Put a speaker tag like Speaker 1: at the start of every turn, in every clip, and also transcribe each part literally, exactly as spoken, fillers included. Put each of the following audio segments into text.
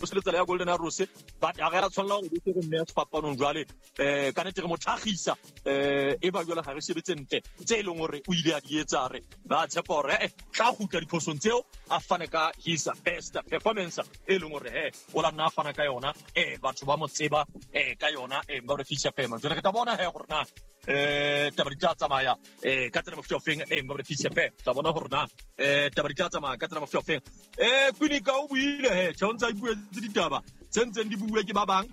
Speaker 1: se tsela ya Golden Arrows but a re a tshwanela hore be re nne sefapanong jwale eh ka nete re mo thagisa eh e ba jwale ga re sebetse ntle tse e leng hore o ile a di etsa re ba tshepa hore eh tla kgutla diphosong tseo a fane ka his best performance e leng hore he o la nna a fana ka yona eh batho ba mo tseba eh ka yona eh ba re fisha pema jwale re tla bona he gore na eh taba di tla tsamaya eh ka tsela mofuta ofeng eh ba re fisha pema tla bona gore na eh taba di tla tsamaya ka tsela mofuta ofeng eh Kwinika o buile he tjho ntse a ipuetse ditaba tse ntseng di bue ke ba bang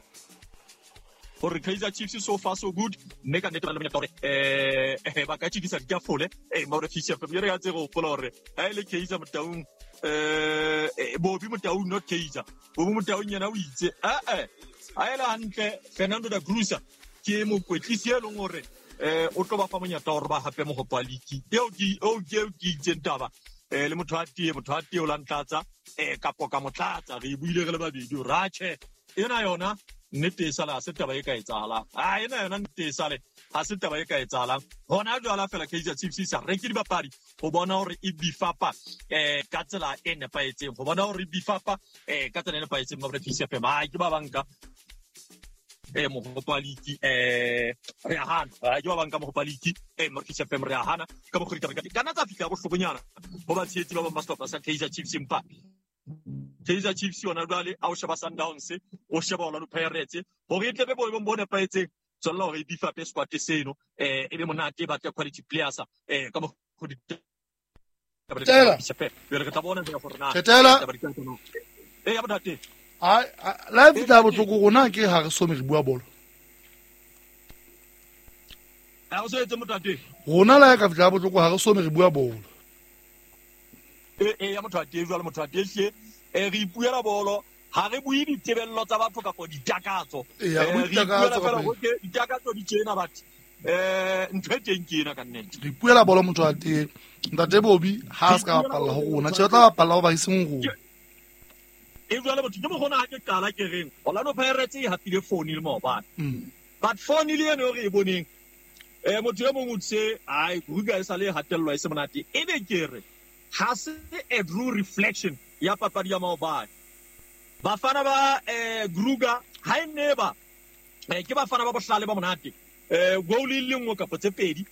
Speaker 1: hore Kaizer Chiefs so far so good mme ka nnete ba le monyetla hore eh ba ka tjikisa ditafole eh ba re fisha pema re ya tse go hopola hore ha ile Kaizer Motaung eh Bobby Motaung not Kaizer Bobby Motaung yena o itse eh eh ha ele hantle Fernando da Cruz ke mokwetlisi e leng hore eh o tlo ba fa monyetla hore ba hape mohopo wa league eo ke eo ke eo ke itseng taba eh le motho a tie motho a tie o la ntlatsa eh kapo ka motlatsa re buile re le babedi o ratjhe ena yona nnete e sale ha se taba e ka etsahalang a ena yona nnete e sale ha se taba e ka etsahalang hona jwale fela Kaizer Chiefs e sa reke dibapadi ho bona hore e bifapa eh ka tsela e nepahetseng ho bona hore e bifapa eh ka tsela e nepahetseng ba re F M ha ke ba banka eh mohopo wa league eh re a hana ha ke ba banka mohopo wa league eh mo F M re a hana ka mokgwa ditaba ka nna tsa fihla bohlokonyana ho ba tshehetsi ba bang ba sehlopha sa Kaizer Chiefs empa Kaizer Chiefs yona jwale a o sheba Sundowns o sheba Orlando Pirates hore e tle be boemong bo nepahetseng tswella hore e bifape squad seno eh e be monate ba tle quality players eh ka mokgwa ditaba re tla bona hore na eh ya botate
Speaker 2: ai live tla botlhoko rona ke ha re some re bua bolo
Speaker 1: a o se etse motate
Speaker 2: rona la ka fitla botlhoko ha re some re bua bolo
Speaker 1: e e ya motho a teng jwale motho a teng hle eh re ipuela bolo ha re bue ditebello tsa batho kapa ditakatso
Speaker 2: eh re ipuela
Speaker 1: fela hore ditakatso di tjena batho eh ntho e teng ke ena ka nnete
Speaker 2: re ipuela bolo motho a teng ntate Bobby ha a se ka bapalla ho rona tjhe tla bapalla ho ba iseng rona
Speaker 1: e jwale motho ke mokgona ha ke qala ke reng Orlando Pirates e hapile four nil maobane but four nil eno re e boneng eh motho e mong o tse ai Kruger e sale hatellwa e se monate e be ke re ha se a true reflection ya papadi ya maobane bafana ba eh Kruger ha e neba eh ke bafana ba bohlale ba monate eh goal e le nngwe kapa tse pedi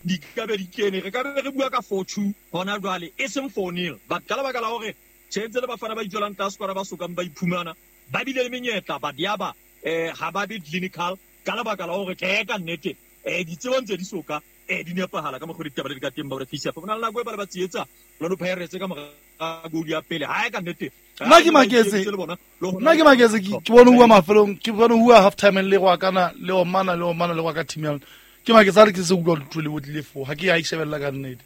Speaker 1: di ka be di kene re ka be re bua ka four two hona jwale e seng four nil but ka lebaka la hore tjhentse le bafana ba itswelang tlase kwana ba sokang ba iphumana ba bile le menyetla ba diaba eh ha ba be clinical ka lebaka la hore tjhe ka nnete eh ditsebo ntse di soka eh di nepahala ka mokgwa ditaba le di ka teng ba re fisa fa bona le nako e ba le ba tsietsa Orlando Pirates ka mora goal ya pele ha e ka nnete
Speaker 2: nna ke maketse nna ke maketse ke bone hua mafelong ke bone hua half time le go akana le omana le omana le go ka team ya ke maketse a re ke se utlwa lutho le botlile fo ha ke ya ishebella ka nnete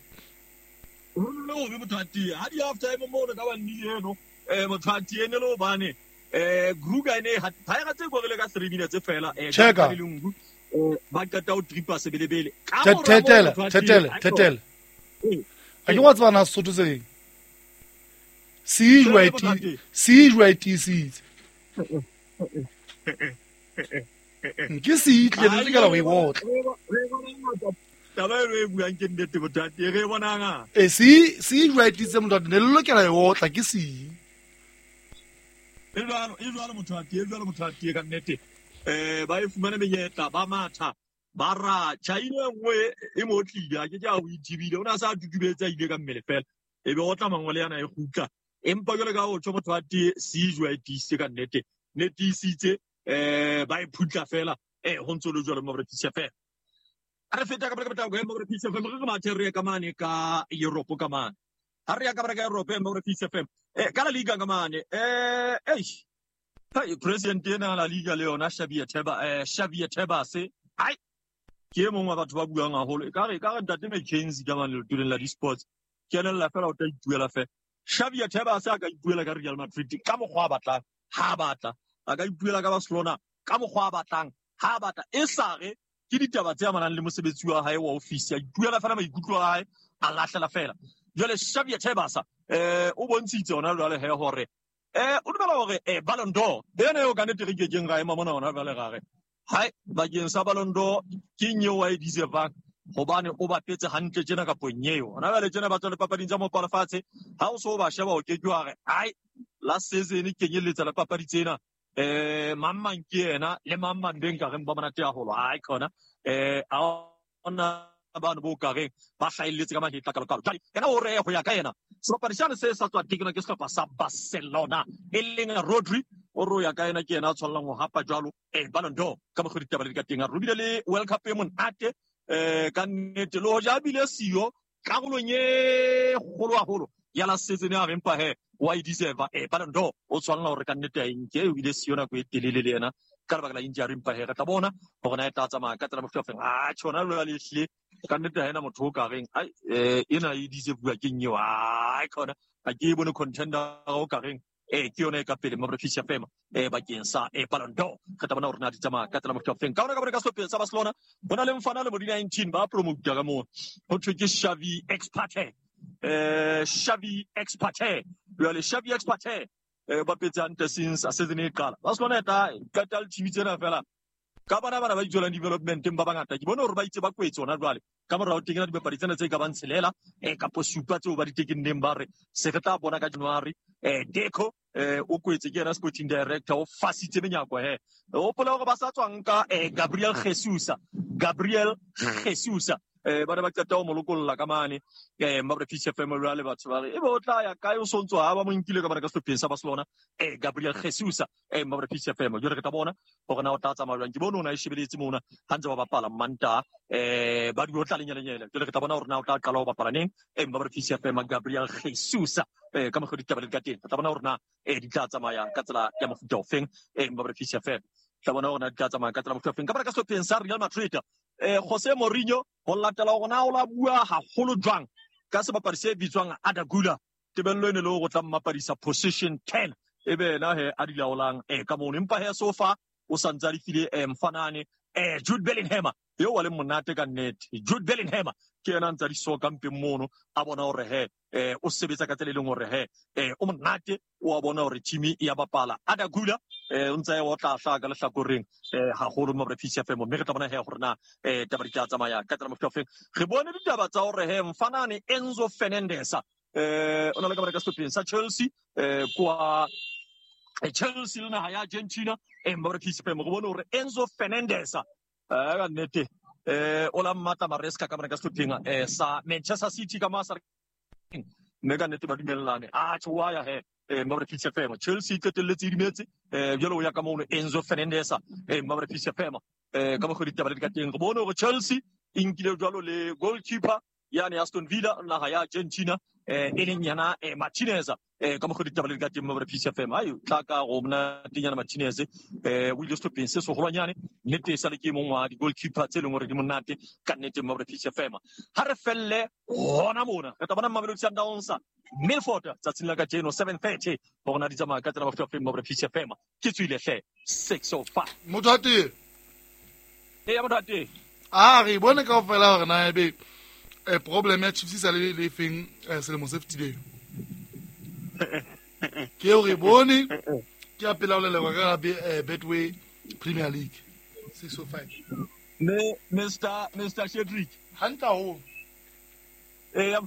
Speaker 1: le o be motho a tie ha di half time mo re ka ba nnile eno eh motho a tie ne le hobane eh Kruger ene ha Pirates e korile ka three minutes fela eh
Speaker 2: ka
Speaker 1: eh ba qeta o tripa sebelebele
Speaker 2: ka tetele tetele tetele a ke wa tswana Sotho se si jwa si jwa tisitse ke se itle le ka la o e botla
Speaker 1: taba e buang ke nnete botate re bonang
Speaker 2: e si si jwa tisitse motho ne le lokela e otla ke si
Speaker 1: e jwalo e jwalo motho a tie jwalo motho a tie ka nnete eh ba e fumane menyetla ba matha ba ra China nngwe e mo tlile a ke ke a o ithibile o na sa tutubetsa ile ka mmele fela e be o tla mangwele yana e kgutla empa jwale ka o tjho motho a tie si jwa tisitse ka nnete ne tisitse eh ba e phutla fela eh ho ntso le jwalo mo re tisa fela a re feta ka ka ka mo re tisa fela re mathe re ka mane ka Europe ka mane ha re ya ka ka Europe mo re tisa fela eh ka la liga ka mane eh eish hai president ena la liga le yona Xavier Tebas eh Xavier Tebas hai ke mong wa batho ba buang haholo e ka re ka re ntate McKenzie ka mane letuleng la di-sports ke lella fela o tla ipuela fela Xavier Tebas a ka ipuela ka Real Madrid ka mokgwa a batlang ha batla a ka ipuela ka Barcelona ka mokgwa a batlang ha batla e sa re ke ditaba tse amanang le mosebetsi wa hae wa office a ipuela fela maikutlo a hae a lahlela fela jwale Xavier Tebas eh o bontshitse hona jwale he hore eh o dumela hore eh Ballon d'Or ena eo ka nnete re kekeng ra ema mona hona jwale ra re hai bakeng sa Ballon d'Or ke eng eo a e deservang hobane o bapetse hantle tjena ka ponyeo hona jwale tjena ba tswa le papading tsa mopo lefatshe ha o so ba sheba o ke ke wa re ai Last season kenyelletsa la papadi tsena eh mang ke yena le mang mang beng ka reng ba monate haholo ai khona eh a ona bana bo ka reng ba hlahelletse ka mahetla kalo kalo. Jwale yena o re ho ya ka yena sebapadi sane se sa tswa tekeno ke sehlopha sa Barcelona e leng Rodri o re ho ya ka yena ke yena a tshwanelang ho hapa jwalo eh Ballon d'Or ka mokgwa ditaba le di ka teng. A re le World Cup e monate eh ka nnete le hoja bile siyo karolong e kgolo haholo ya la season ya rempa he wa e deserve eh Ballon d'Or o tshwanela hore ka nnete a nke o ile siyo nako e telele le yena ka lebaka la injury empa he re tla bona hore na e tla tsamaya ka tsela mofuta ofeng. A tjhona lo le hlile ka nnete ha ena motho o ka reng ai eh ena e deserve ke eng eo ai khona ha ke bone contender o ka reng eh ke yona e ka pele Mabrefis F M eh bakeng sa eh Ballon d'Or re tla bona hore na di tsamaya ka tsela mofuta ofeng. Ka hona ka bona ka sehlopheng sa Barcelona bona le mfana le mo di nineteen ba promote ka moo ho thwe ke Xavi Expert eh Xavi Expert jwale Xavi Expert eh ba petse hantle since a season e qala Barcelona e tla qeta le team tsena fela ka bana bana ba itswelang developmenteng ba bangata ke bone hore ba itse ba kwetse hona jwale ka morao teng na dibapadi tsena tse ka bang tshelela eh kapo supa tseo ba di tekenneng ba re se re tla bona ka January eh Deco eh o kwetse ke yena sporting director o fasitse menyako he o hopola hore ba sa tswang ka eh Gabriel Jesus Gabriel Jesus eh ba ne ba qeta ho mo lokolla ka mane eh Mabrefis F M jwale batho ba re ebe o tla ya kae o sontso ha ba mo nkile ka bana ka sehlopheng sa Barcelona eh Gabriel Jesus eh Mabrefis F M jwale re tla bona hore na o tla tsamaya jwang. Ke bone ona e shebeletse mona ha ntse ba bapala Manta eh ba di o tla lenyelenyele jwale re tla bona hore na o tla qala ho bapala neng eh Mabrefis F M Gabriel Jesus eh ka mokgwa ditaba le ka teng re tla bona hore na eh di tla tsamaya ka tsela ya mofuta ofeng eh Mabrefis F M tla bona hore na di tla tsamaya ka tsela mofuta ofeng. Ka bana ka sehlopheng sa Real Madrid eh Jose Mourinho ho latela hore na o la bua haholo jwang ka sebapadi se bitswang Arda Güler tebello ene le hore o tla mmapadisa position ten ebe yena he a di laolang eh ka mono empa he so far o santse a di file eh mfanane eh Jude Bellingham eo wa le monate ka nnete. Jude Bellingham ke yena a ntse a di soka mpeng mono a bona hore he eh o sebetsa ka tsela e leng hore he eh o monate o a bona hore team e ya bapala. Arda Güler eh o ntse a otla hlaka ka lehlakoreng eh haholo Mabrefis F M mme re tla bona he hore na eh taba di tla tsamaya ka tsela mofuta ofeng. Re bone ditaba tsa hore he mfanane Enzo Fernandez eh o na le ka bana ka sehlopheng sa Chelsea eh kwa Chelsea le naha ya Argentina eh Mabrefis F M re bone hore Enzo Fernandez eh ka nnete eh o la mmatla Maresca ka bana ka sehlopheng eh sa Manchester City ka masa mme ka nnete ba dumellane a tjho wa ya he eh Mabrefis F M Chelsea qetelletse e dumetse eh jwale o ya ka mono Enzo Fernandez eh Mabrefis F M eh ka mokgwa ditaba le di ka teng re bone hore Chelsea e nkile jwalo le goalkeeper yani Aston Villa naha ya Argentina eh e leng yana eh Martinez eh ka mokgwa ditaba le di ka teng Mabrefis F M ai tla ka go mna tenyana Martinez eh o ile sehlopheng se seholwanyane nnete e sale ke mong wa di-goalkeeper tse leng hore di monate ka nnete Mabrefis F M. Ha re felle hona mona re tla bona Mamelodi Sundowns Milford tsatsing la kajeno seven thirty hore na di tsamaya ka tsela mofuta ofeng Mabrefis F M ke tswile hle six oh five
Speaker 2: motho a teng
Speaker 1: e ya motho a teng
Speaker 2: a re bone kaofela hore na ebe eh problem ya Chiefs sa le le feng selemo se fetileng ke o re bone ke a pela o lelekwa ka Betway Premier League six oh five
Speaker 1: me Mister Mister Shedrick
Speaker 2: hantle haholo
Speaker 1: eh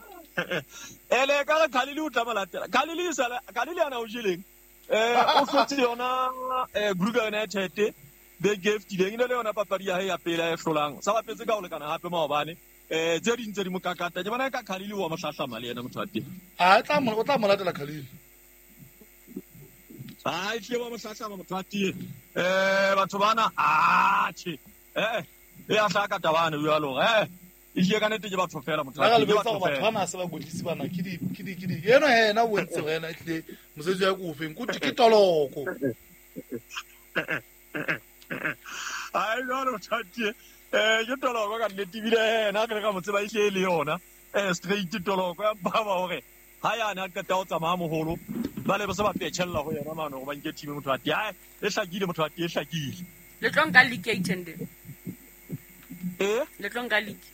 Speaker 1: ele ka re Khalili o tla mo latela Khalili sala Khalili ana o jeleng eh o hlotse yona eh Kruger United beke e fetileng e ne le yona papadi ya hae ya pele e hlolang sa bapetse ka ho lekana hape maobane eh tse ding tse di mo kakata ke bona ka Khalili wa mo hlahlama le yena motho wa teng
Speaker 2: a tla mo o tla mo latela Khalili
Speaker 1: ai tle wa mo hlahlama motho wa teng eh batho bana a tjhe eh e a hlaka tabane jwalo eh e hle ka nnete ke batho fela motho wa
Speaker 2: teng batho batho bana se ba godisi bana ke di ke di ke di yena yena o entse wena tle mosebetsi ya ko ofeng ko ke toloko
Speaker 1: ai jwalo motho wa teng eh ke toloko ka nnete ebile ena re ka mo tseba e hle le yona eh straight toloko ya baba hore ha yana a qeta ho tsamaya moholo ba le ba se ba petshella ho yena mano go ba nke team motho wa teng ai e hlakile motho wa teng e hlakile
Speaker 3: le tlo nka league ya H and M
Speaker 1: eh
Speaker 3: le tlo nka league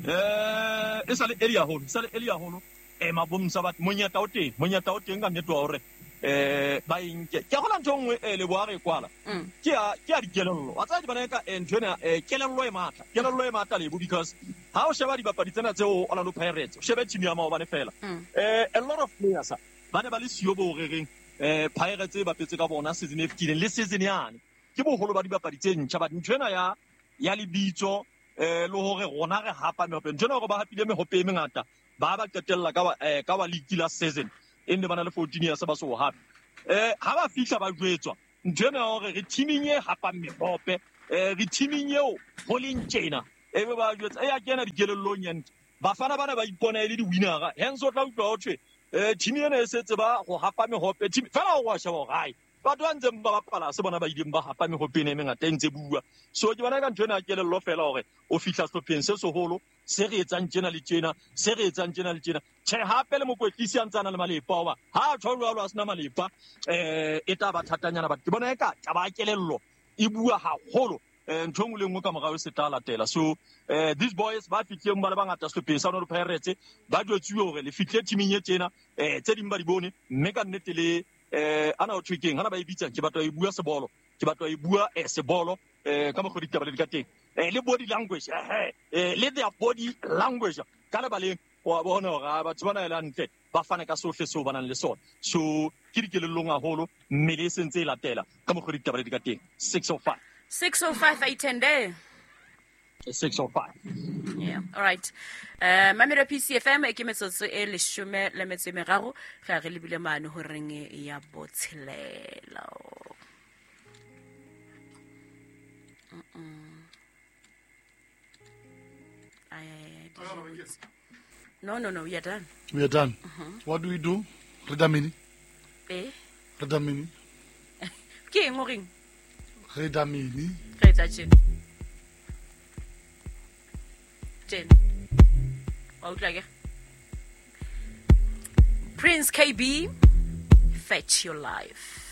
Speaker 1: eh e sa le early haholo e sa le early haholo eh mabomsa ba monyetla o teng monyetla o teng ka nnete wa hore eh ba inke ke gola ntho nngwe e le boa re kwala ke a ke a dikelello wa tsaya di bana ka ntho ena kelello e matla kelello e matla lebo because ha o sheba dibapadi tsena tseo Orlando Pirates o shebe team ya maobane fela eh a lot of players ba ne ba le siyo bo re reng eh Pirates e bapetse ka bona season e fetileng le season yane ke boholo ba dibapadi tse ntjha ba ntho ena ya ya lebitso eh le hore rona re hapa mehope ntho ena hore ba hapile mehope e mengata ba ba qetella ka eh ka wa league la season e ne ba na le fourteen years ba so hape eh ha ba fihla ba jwetswa ntho ena hore re teaming e hapang mehope eh re teaming eo ho leng tjena e be ba jwetsa e ya kena dikelellong ya ntho bafana bana ba ipona e le di-winner hence o tla utlwa ho thwe eh team ena e setse ba go hapa mehope team fela o wa sheba hore hai batho ba ntseng ba bapala se bona ba ileng ba hapa mehope ena e mengata e ntse bua so ke bona ka ntho ena ya kelello fela hore o fihla sehlopheng se seholo se re etsang tjena le tjena se re etsang tjena le tjena tjhe hape le mokwetlisi a ntse a na le malepa hoba ha a tjho jwalo a sena malepa eh e tla ba thatanyana but ke bona eka taba ya kelello e bua haholo eh ntho nngwe le nngwe ka morao e se tla latela so eh these boys ba fihleng ba le bangata sehlopheng sa Orlando Pirates ba jwetsuwe hore le fihle teaming e tjena eh tse ding ba di bone mme ka nnete le eh ana o thwe keng hana ba e bitsang ke batla e bua sebolo ke batla e bua eh sebolo eh ka mokgwa ditaba le di ka teng eh le body language eh eh le their body language ka lebaleng wa bona hore batho bana e le hantle ba fane ka sohle seo ba nang le sona so ke dikelellong haholo mmele e sentse e latela ka mokgwa ditaba le di ka teng six oh five
Speaker 3: six oh five eight ten day
Speaker 1: six oh five
Speaker 3: Yeah, all right. Eh Mamelo P C F M e ke metsotso e leshome le metso e meraro re re lebile mane ho reng ya botshelela. Mm. Ay, ay, ay, No, no, no, we are done.
Speaker 2: We are done.
Speaker 3: Mm-hmm.
Speaker 2: What do we do? Redamini.
Speaker 3: Eh?
Speaker 2: Redamini.
Speaker 3: Ke eng o reng?
Speaker 2: Redamini.
Speaker 3: Re etsa tjena. Tjena. Wa utlwa ke? Prince K B, Fetch Your Life.